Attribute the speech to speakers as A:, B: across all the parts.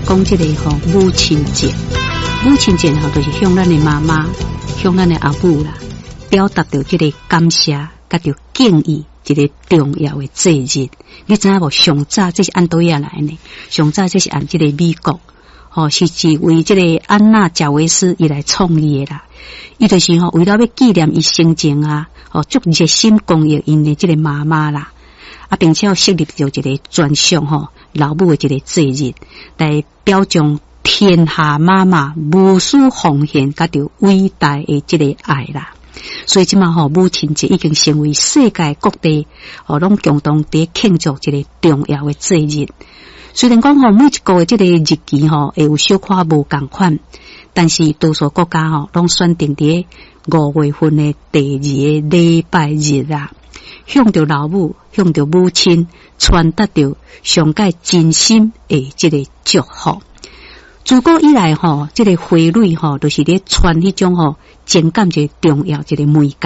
A: 講這個吼母親節，母親節吼就是向咱的媽媽、向咱的阿母啦，表達著這個感謝，佮著敬意一個重要的節日。你知影無？上早這是按佗位仔來呢？上早這是按這個美國，吼，是一位這個安娜賈維斯伊來創立的啦。伊就是吼為了欲紀念伊生前啊，吼足熱心公益𪜶的這個媽媽啦。啊，並且設立著一個專屬吼老母的一個節日，來表彰天下媽媽無私奉獻佮著偉大的這個愛啦。所以這馬吼母親節已經成為世界各地吼攏共同佇慶祝一個重要的節日。雖然講吼每一國的這個日期吼會有小可無仝款，但是多數國家吼攏選定佇5月份的第二個禮拜日啊。向著老母，向著母親傳達著上蓋真心的這個祝福。自古以來吼，這個花蕊吼，就是咧傳彼種吼情感一個重要一個媒介。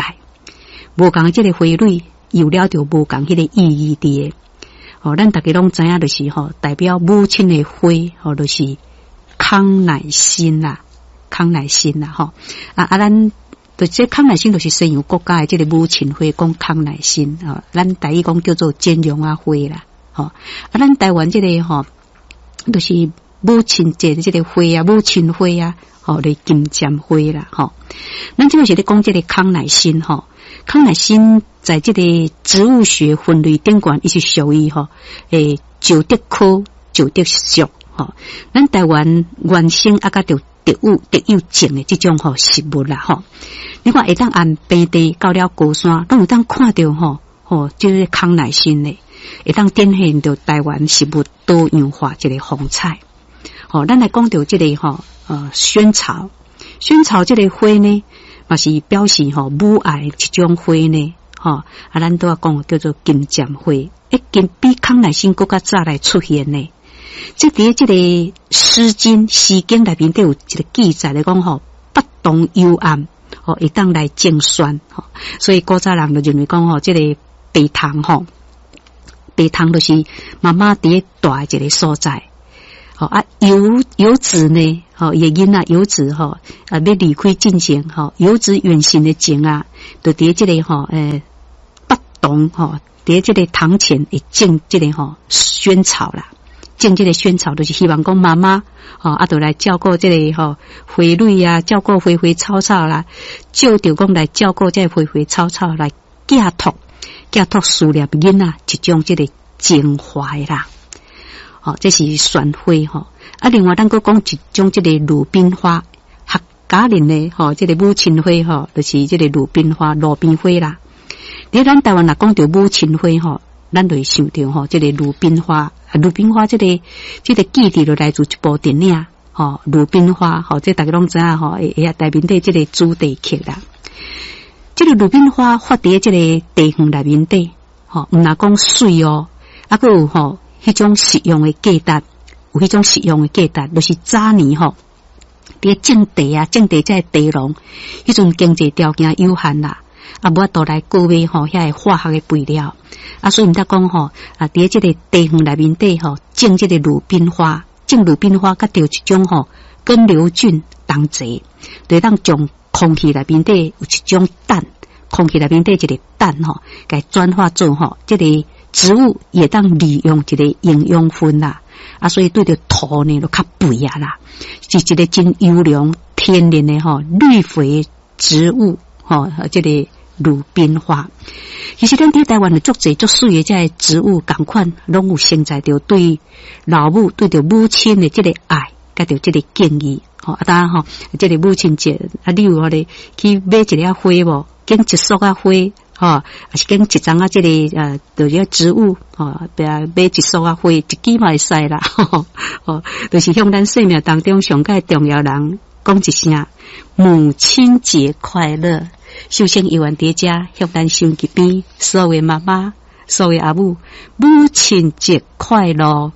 A: 無仝的這個花蕊，有了著無仝彼個意義佇的。吼，咱逐家攏知影，就是吼代表母親的花，吼就是康乃馨啦，康乃馨啦，吼啊啊，咱。就這康乃馨就是西洋國家的這個母親花，講康乃馨吼，咱台語講叫做煎龍仔花啦，吼啊，咱台灣這個吼，就是母親節的這個花啊，母親花啊，吼，咧金針花啦，吼。咱這個是咧講這個康乃馨吼，康乃馨在這個植物學分類頂懸，伊是屬於吼欸石竹科石竹屬吼。咱台灣原生啊，佮著特有特有種的這種吼食物啦吼。你看會當按平地到了高山，攏會當看著吼吼，這個康乃馨的，會當展現著台灣食物多樣化一個風采。吼，咱來講著這個吼，萱草，萱草這個花呢，嘛是表示吼母愛一種花呢，吼啊，咱拄仔講叫做金針花，已經比康乃馨閣較早來出現呢。這佇這個《詩經》詩經內面底有一個記載來講吼，北桐幽暗，吼會當來種萱，吼，所以古早人就認為講吼，這個白桐吼，白桐就是媽媽佇咧蹛的一個所在，吼啊遊遊子呢，吼伊的囡仔遊子吼啊欲離開進前吼，遊子遠行的前啊，就佇這個吼欸北桐吼，佇這個堂前會種這個吼萱草啦。種這個萱草，就是希望講媽媽吼啊，就來照顧這個吼花蕊啊，照顧花花草草啦，借著講來照顧這個花花草草來寄託寄託思念囡仔一種這個情懷啦。吼，這是萱花吼。啊，另外咱閣講一種這個魯冰花，客家人的吼，這個母親花吼，就是這個魯冰花、路邊花啦。佇咱台灣若講著母親花吼，咱就會想著吼，這個魯冰花。魯冰花這個這個記憶就來自一部電影，吼，魯冰花，吼，這逐家攏知影吼，會會內面底這個主題曲啦。這個魯冰花發佇這個地園內面底，吼，毋若講媠哦，啊，閣有吼，彼種實用的價值，有彼種實用的價值，就是早年吼，佇種地啊，種地這個地農，彼陣經濟條件有限啦。啊，無法度來購買吼遐个化學的肥料，啊，所以毋才講吼，啊，佇這個地園內面底吼，種這個魯冰花，種魯冰花，佮著一種吼根瘤菌同齊，就會當將空氣內面底有一種氮，空氣內面底一個氮吼，共轉化做吼，這個植物會當利用一個營養分啦，啊，所以對著土呢就較肥啊啦，是一個真優良天然的吼綠肥植物吼，這個。魯冰花，其實咱佇台灣的足濟足媠的這个植物，仝款攏有承載著對老母、對著母親的這個愛，佮著這個敬意。吼啊，當然吼，這個母親節啊，你有予咧去買一粒花無？揀一束仔花，吼，抑是揀一叢仔這個就是植物，吼，比如買一束仔花，一支嘛會使啦。吼，就是向咱生命當中上蓋重要人講一聲母親節快樂。首先，猶原佇遮向咱收音機邊所有的媽媽、所有的阿母，母親節快樂！